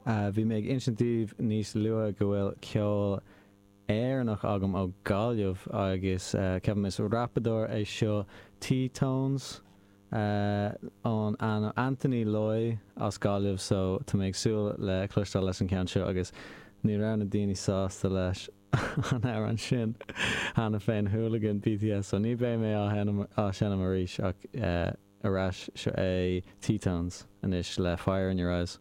Bhí mé ag insint daoibh níos luaithe go bhfuil ceol Éireannach agam ó Gaillimh agus ceapaim is rapadóir é seo T-Tones ón ainm Anthony Loy as Gaillimh so tá mé ag súil le cloisteáil leis an ceann seo agus ní raibh na daoine sásta leis an amhrán sin cheana féin Hooligan BTS so ní beidh mé á seinm arís ach ar ais seo é T-Tones anois le Fire in Your Eyes.